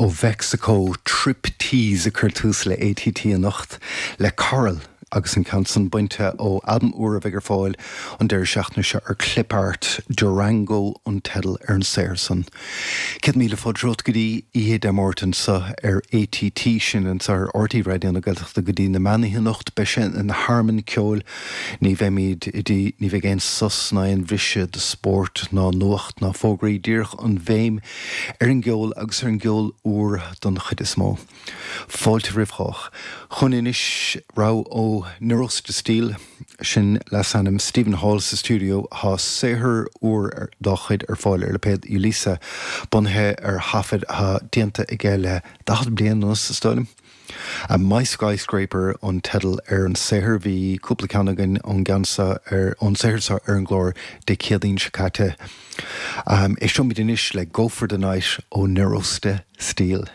Ó Mheicsiceo, Triptease ag cur tús le ATT anocht le Coral agus an ceann san bainte ó albam úr a bheidh ar fáil an deireadh seachtaine seo ar Clipart, Durango an teideal ar an saothar san. 100,000 fáilte romhat go dtí oíche Dé Máirt anseo ar ATT, sin anseo ar RTÉ Raidió na Gaeltachta go dtí na meánoíche anocht. Beidh sé ina thearmann ceoil, ní bheimid i dtí, ní bheidh aon sos ná aon bhriseadh do spórt ná nuacht ná fógraí, díreach an bhéim ar an gceol agus ar an gceol úr don chuid is mó. Fáilte roimh chách. Chugainn anois rogha ó Neurosis de Steel, sin leasainm Stephen Hall sa stiúideo. Tá saothar úr dá chuid ar fáil ar lipéad Ulisa, bunaithe ar thaifid atá déanta aige le 40 bliain anuas, is dóigh liom. My Skyscraper an teideal ar an saothar. Bhí cúpla ceann againn ón gceann seo ar, ón saothar seo ar an gclár Dé Céadaoin seo caite. Éisteoimid anois le Go For The Night ó Neurosis de Steel.